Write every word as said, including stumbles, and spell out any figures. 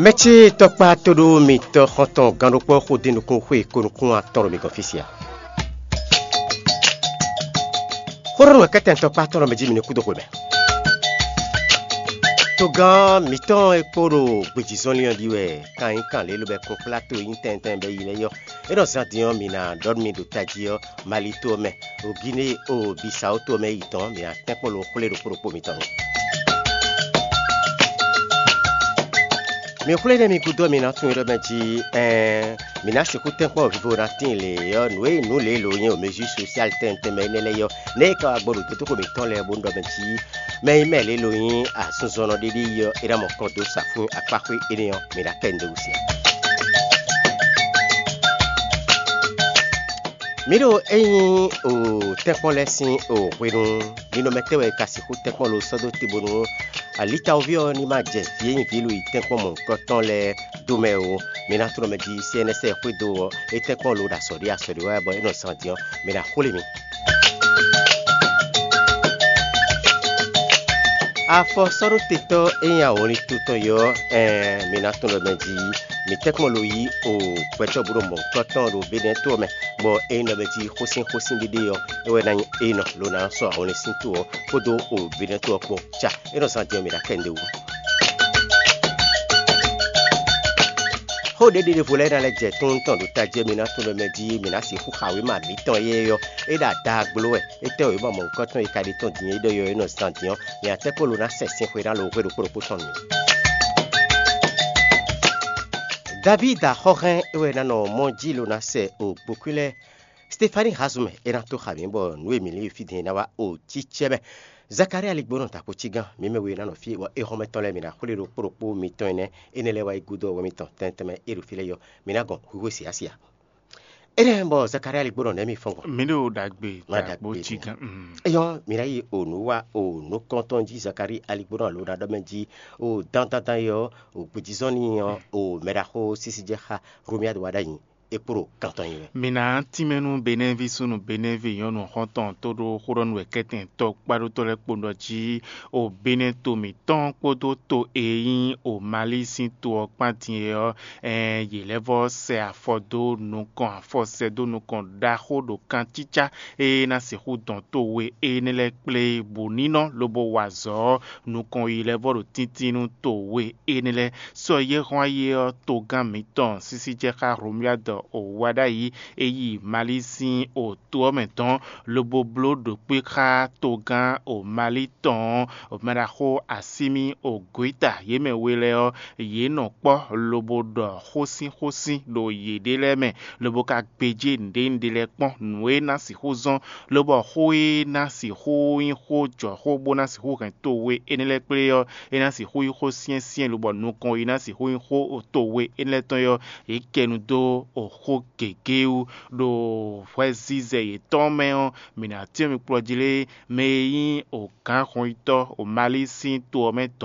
Mɛ̌ cí tɔkpá tóɖó mitɔ́ xɔ́ntɔn gannúkpɔ́ xó dín nukún xwé ko nukún atɔn ɖo mi gɔ́n fí sia? Xó ɖɔ nú wɛ kɛ́tɛn tɔkpá tɔn ɖɔ mɛ jí mi ní kú dó xwe mɛ. Togán mǐtɔn e kpo ɖo gbějízɔnlin ɔ́ ɖi wɛ kan nyí kan lě lobɛ kún kplá to e nyí tɛntɛn bɔ yi lɛ́ɛ yɔ. É nɔ zán din ɔ́, mǐ ná ɖɔ nú mi ɖo tají ɔ́, Mali to ɔ́ mɛ, ɖo Gine o Bisawo to ɔ́ mɛ yi tɔn, mǐ ná tɛ́nkpɔ́n lo xwlé ɖokpó ɖokpó mitɔn nu. Mi xwlé nɛ́ mi gúdo ɔ́, mi ná tunwun ɖɔ mɛ jí ɛɛn, mǐ ná sixú tɛ́nkpɔ́n vivo ná tíin lě ɔ́, nǔ e nǔ lě lo nyí o mezír sosial tɛntɛn mɛ énɛ́ lɛ́ɛ ɔ́, nɛ́ e ka wá gbɔ ɖo dǒdóxo mǐtɔn lɛ́ɛ bó nú ɖɔ mɛ jí mɛ e mɛ lě lo nyí asunzɔnnɔ ɖé ɖé yi ɔ́, é ná mɔ kɔn dó sa fún akpáxwé énɛ́ ɔ́, mǐ ná kɛ nǔɖé wú sia. Mǐ ɖo é nyí o tɛ́nkpɔ́n lɛ́ɛ sín o hwenu ninɔmɛ tɛ́ wɛ è ka sixú tɛ́nkpɔ́n lo sɔ́ dó te bónú alitawoví ɔ́ ní ma jɛ vǐ e nyí vǐ lo yi tɛ́nkpɔ́n mɔ̌hunkɔtɔn lɛ́ɛ dó mɛ ó. Mi ná tlɔ́ mɛ jí C N S xwédo ɔ́, é tɛ́nkpɔ́n lo ɖo azɔ̌ ɖé azɔ̌ ɖé wɛ bɔ é nɔ zán din ɔ́, mi ná xwlé mi. Afɔ sɔ́ ɖó tetɔ́ e nyí awɔnlin to tɔn yɔ ɔ́, ɛɛn, mi ná tunwun ɖɔ mɛ jí mi tɛ́nkpɔ́n lo yí o gbɛtɔ́ bó ɖo mɔ̌hunkɔtɔn ɖo Benɛ́ to ɔ́ mɛ, bɔ é nyí ɖɔ mɛ jí xósín xósín ɖéɖé ɔ́, é wɛ ná nyí é nɔ lo ná sɔ́ awɔnlin sín to ɔ́ kpódó o Benɛ́ to ɔ́ kpó. Ca é nɔ zán din ɔ́, mi ná kɛ nǔɖé wú. Xó ɖěɖé ɖěvo lɛ́ɛ ná lɛ́ jɛ tún tɔn ɖo tají ɔ́, mi ná tunwun ɖɔ mɛ jí mi ná sixú xa wěma mǐtɔn éyɛ́ ɔ́, é ɖo adagbló wɛ. Étɛ́ wěma mɔ̌hunkɔtɔn e ka ɖe tɔn din é ɖɔ yɔ é nɔ zán din ɔ́, mi ná tɛ́ kpó lo ná sɛ sin xwe ná lo hwe ɖokpó ɖokpó tɔn nú mi. Davídi axɔ́hɛn é wɛ ná nɔ mɔ jí lo ná sɛ o gbokún lɛ́ɛ. Stefani Hazumɛ é ná tó xa mǐ bɔ nǔ e mǐ lin fí din é ná wá o cícɛ́ mɛ. Zakalía ligbónɔ ta kpo cí gán, mǐ mɛ we ná nɔ fí bɔ éhɔ́nmɛtɔn lɛ́ɛ mǐ ná xwlé ɖokpó ɖokpó mitɔn énɛ́, énɛ́ lɛ́ɛ wá yi gúdo ɔ́ wɛ mitɔn tɛntɛn mɛ é ɖo fí lɛ́ɛ yɔ, mǐ ná gɔn hwíhwé siásia. Énɛ́ bɔ Zakalía ligbónɔ nɛ̌ mi fɔ́n gbɔn? Mǐ ɖo ɖagbe. Má ɖagbe cí gán. Eyɔ́ mǐ ná yi o nǔ wá o nǔkɔntɔn jí Zakalía ligbónɔ alo ná ɖɔ mɛ jí o dandandan yɔ o gbějízɔ́n n'i ɔ́ o mɛɖaxó sísí jɛ xá Hlomyádu wá ɖ'ayǐ é kpo ɖo kan tɔn nyi wɛ. Mǐ ná tínmɛ nú Benɛ́ví súnnu Benɛ́ví nyɔ̌nu xɔ́ntɔn tó ɖó xó ɖɔ nú wɛ kɛ́tɛn tɔkpáɖótɔ́ lɛ́ɛ kpo ɖɔ jí o Benɛ́ to mǐtɔn kpódó to e nyí o Mali sín to ɔ́ kpán din é ɔ́, ɛɛn, yě lɛ́ vɔ́ sɛ afɔ dó nukɔn afɔ sɛ dó nukɔn ɖaxó ɖo kancícá e ná sixú dɔn to we énɛ́ lɛ́ɛ kplé bǔ ní nɔ lobo wa azɔ̌ ɔ́, nukɔn yi lɛ́ vɔ́ ɖo tíntín nú to we énɛ́ lɛ́ɛ. Sɔ yɛ́ hɔn ayé ɔ́, togán mǐtɔn sísí jɛ xá Hlomyádu o wá ɖ'ayǐ é yi Mali sín o to ɔ́ mɛ dɔn, lobo bló ɖokpé xá togán o Mali tɔn ɔ́, mɛɖaxó Asímí o Goyíta yě mɛ we lɛ́ɛ ɔ́, yě nɔ kpɔ́ lobo ɖɔ xósínxósín ɖo yěɖée lɛ́ɛ mɛ, lobo ka gbéjé nǔɖénúɖé lɛ́ɛ kpɔ́n nǔ e ná sixú zɔ́n, lobɔ xó e ná sixú nyí xó jɔxó bó ná sixú hɛn to we énɛ́ lɛ́ɛ kplé ɔ́, é ná sixú nyí xó syɛ́nsyɛ́n, lobɔ nukɔn e ná sixú nyí xó to we énɛ́ lɛ́ɛ tɔn ɔ́, yě kɛ nu dó xó gěgé wú ɖo hwɛzizɛ yětɔn mɛ ɔ́, mǐ ná cyɔ́n mi kplɔ́ jí lé, mɛ e nyí gǎnhɔnyitɔ́ Mali sín to ɔ́ mɛ